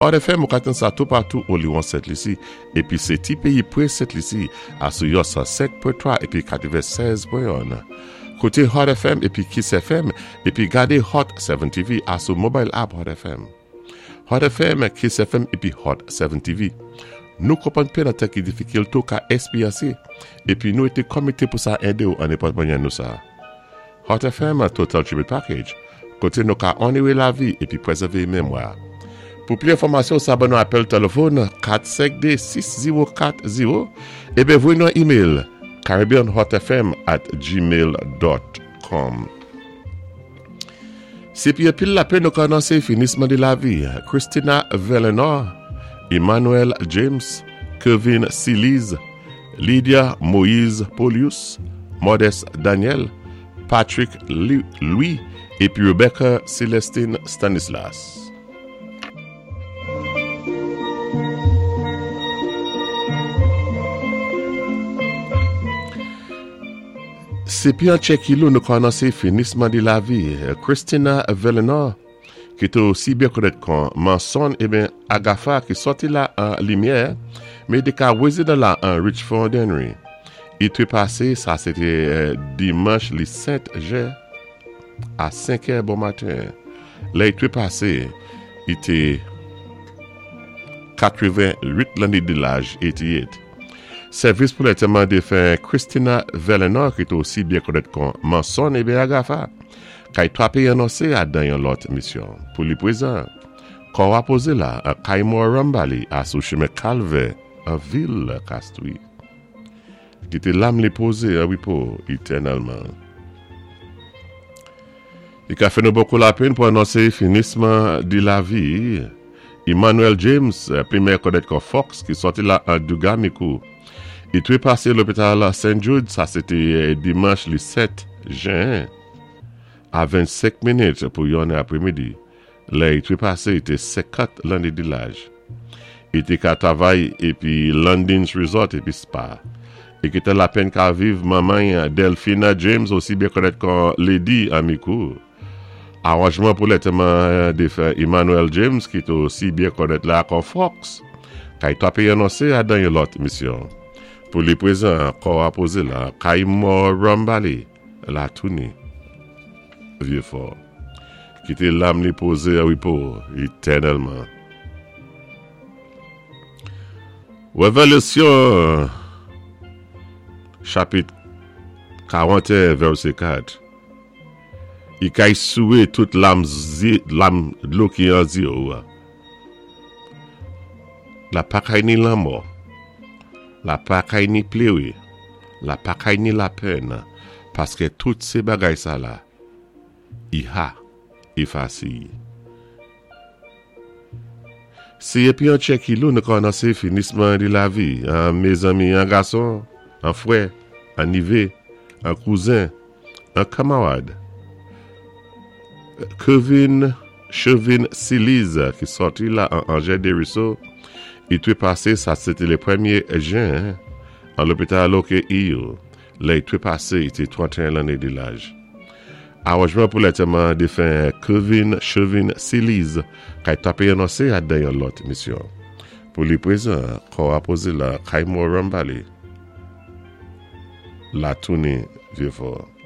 Hot FM ou ka tann sa toupatou oliwon Sent Lisi epi se ti peyi pre Sent Lisi a sou yon 105 pwen 3 epi 96 pwen 1. Koute Hot FM epi Kiss FM epi gade Hot 7 TV a sou mobile app Hot FM. Hot FM, Kiss FM epi Hot 7 TV. Nou konprann pen nan tan ki difikil tou ka esperyanse epi nou ete komite pou sa ede ou an nenpòt mannyè nou sa. Hot FM Total Tribute Package, kote nou ka onore lavi epi prezève memwa. Pou pli enfòmasyon sa ban nou apèl telefòn 452 6040 eben voye nou yon email caribbeanhotfm at gmail dot com. Se pi anpil lapenn nou ka anonse finisman de lavi Christina Velenor, Emmanuel James, Kevin Cilize, Lydia Moïse Polius, Modeste Daniel, Patrick Louis epi Rebecca Celestine Stanislas. Se pi an tchèkilou nou ka anonse finisman de lavi Christina Velenor ki te osi byen konèt kon Manson eben Agafa ki sòti la an limyè men te ka rezidan la an Richfond Henry. I trepase sa se te dimanch li 7 jen a 5 è bon maten. Lè i trepase i te 88 lanne de laj 88. Sèvis pou lantèman defen Christina Velenor ki te osi byen konèt kon Manson eben Agafa. Kay 3 peyi anonse a dan yon lòt misyon. Pou li prezan, kò a poze la an kay mò Rambali a sou chemen Kalvè an vil Kastri. Kite lam li poze an repo etènèlman. Li ka fè nou bokou lapenn pou anonse finisman di lavi Emmanuel James, pi mèyè konèt kon Fox ki sòti la an Dugamikou. Li trepase lopital St. Jude, sa se te dimanch li 7 jen a 25 minit pou yon è apremidi. Lè li trepase li te 50 lanne de laj. Li te ka travay epi Landings Resort epi Spa. Li ki te lapenn ka viv manman y Delphina James osi byen konèt kon Lady Amikou. Aranjman pou lantèman defen Emmanuel James ki te osi byen konèt la kon Fox kay 3 peyi anonse a dan yon lòt misyon. Pou li prezan kò a poze la kay mò Rambali la touni Vye Fò. Kite lam li poze an repo etènèlman. Revelasyon chapit 41 vèsè 4 I kay souwe tout lam zye lam dlo ki an zye ou a. La pa kay ni lanmò, la pa kay ni plere, la pa kay ni lapèn, paske tout se bagay sa la, i ha efase i. Se epi an tchèkilou nou kòmanse finisman di lavi an mezanmi an gason, an frè, an nive, an kouzen, an kamarad. Kevin Chevin Siliz ki sòti la an Angers Desruisseaux i trepase sa se te le premye jen an lopital OKEU lè i trepase i te 31 lanne de laj. Aranjman pou lantèman defen Kevin Chevin Siliz kay tape anonse a dan yon lòt misyon. Pou li prezan kò a poze la kay mò Rambali la tounin Vieux Fort.